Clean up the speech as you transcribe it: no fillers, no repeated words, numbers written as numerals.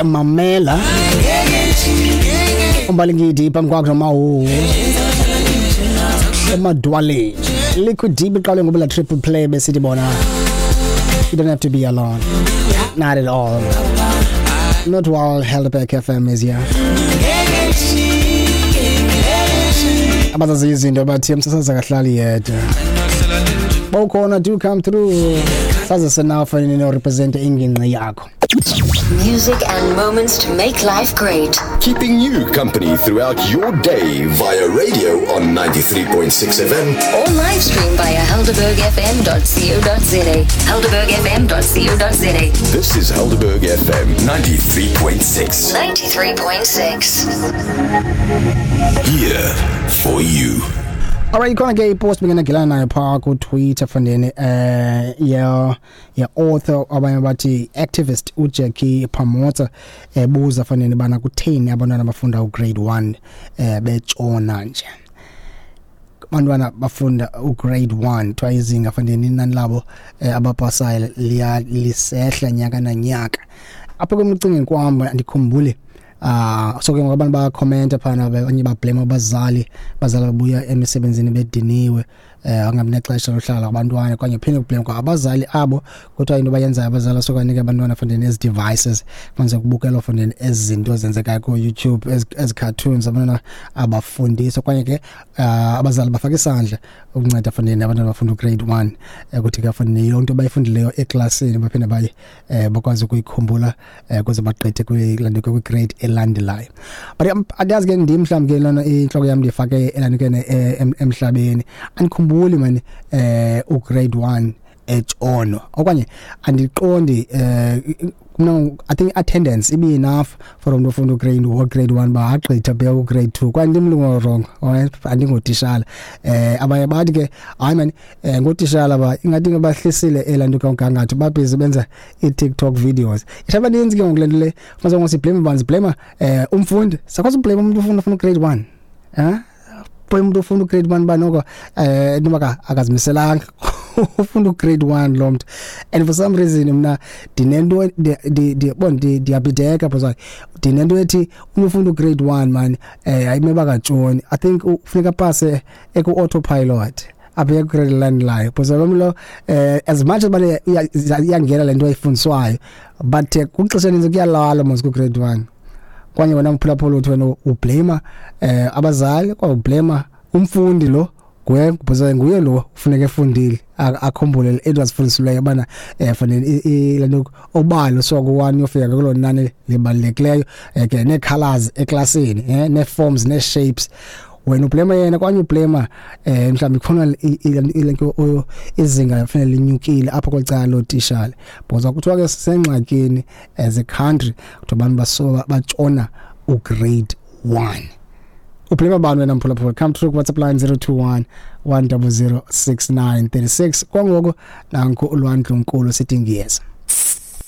Mamela uMbalingidi phambi kwakho noMawu emadwaleni. Liquid Deep iqale ngoba la triple play besithi bona you don't have to be alone, not at all, not while Helderberg FM is here. Abazazi izinto bathi umsasazi akahlali yedwa. Bawukhona, do come through, saze senafa nini represent ingingqi yakho. Music and moments to make life great. Keeping you company throughout your day via radio on 93.6 FM. Or live stream via helderbergfm.co.za. Helderbergfm.co.za. This is Helderberg FM 93.6. 93.6. Here for you. Alright, ikhona ke ipost bengenagilana nayo phaa kuTwitter fandeni ya author, abanye bathi activist, uJackie Phamotse, ebuza fandeni bana kutheni abantwana bafunda ugrade 1 betshona nje. Abantwana bafunda ugrade 1 kuthiwa izinga fandeni inani labo abapasayo liya lisehla nyaka nanyaka. Apha kumcingeni kwam andikhumbuli. So ke ngoku abantu bayakhomenta phana, abanye bablame abazali, abazali babuya emisebenzini bediniwe, angabi nexesha lohlala abantwana, okanye phinde kublame kwa abazali abo. Kuthiwa into bayenzayo abazali sokanika abantwana fondeni ezi devices, kwenze kubukelwa fondeni ezi zinto zenzekayo ku-YouTube, ezi cartoons, abantwana abafundiswa. Okanye ke abazali bafaka isandla ukunceda fondeni abantwana bafunda ugrade 1, ukuthi ke fondeni yonke into bayifundileyo eklasini baphinde baye bakwazi ukuyikhumbula ukuze bagqithe kwi-grade elandelayo. But andiyazi ke, ndim mhlawumbi ke lona intloko yam ndiyifake elandukene emhlabeni, andikhumbuli mani ugrade 1 etshono, okanye andiqondi. Mna I think attendance ibe enough for umntu ofunda ugrade 1 ba agqitha bheka ugrade 2, kwaye ndimlungu wrong, alright, andingotishala. Abanye bathi ke hayi mani, ngotishala ba ingathi bahlisile elanto komgangatho, babhizi benza i-TikTok videos. Isha abaninzi ke ngoku le nto le fumanisa ngoku siblame bani, siblame umfundi, sakwazi ublame umuntu ofunda ugrade 1, blame umuntu ofunda ugrade 1 ba noko noba akazimiselanga ufunda ugrade 1 lo mntu. And for some reason mna ndinento bon ndiyabhideka because ndinento ethi umntu ufunda ugrade 1 man ayimeba katshoni. I think ufuneka pase eku autopilot apha ku-grade elandelayo, because lo lo as much as bane iyangena le nto ayifundiswayo, but kwixesha elinintsi kuyalala mos ku-grade 1. Kwanye wena mphulaphula uthi wena ublame abazali, kwa ublame umfundi lo nguye, because nguye lo ufuneka efundile akhumbule into azifundisileyo bana fanele lento obalo so ku-1 uyofika kulo nani libalulekileyo, ke nee-colors eklasini, nee-forms, nee-shapes. Wena ublame yena, kwanye ublame mhlawumbi khona ilento izinga kufanele linyukile apho kwecala lootishala, because kuthiwa ke sisengxakini as a country, kuthiwa abantu baso batshona ugrade 1. Ublame bani wena mphulaphula? Come through WhatsApp line 021 100 6936. Kwangoku nanku uLwandlunkulu sithi ngiyeza.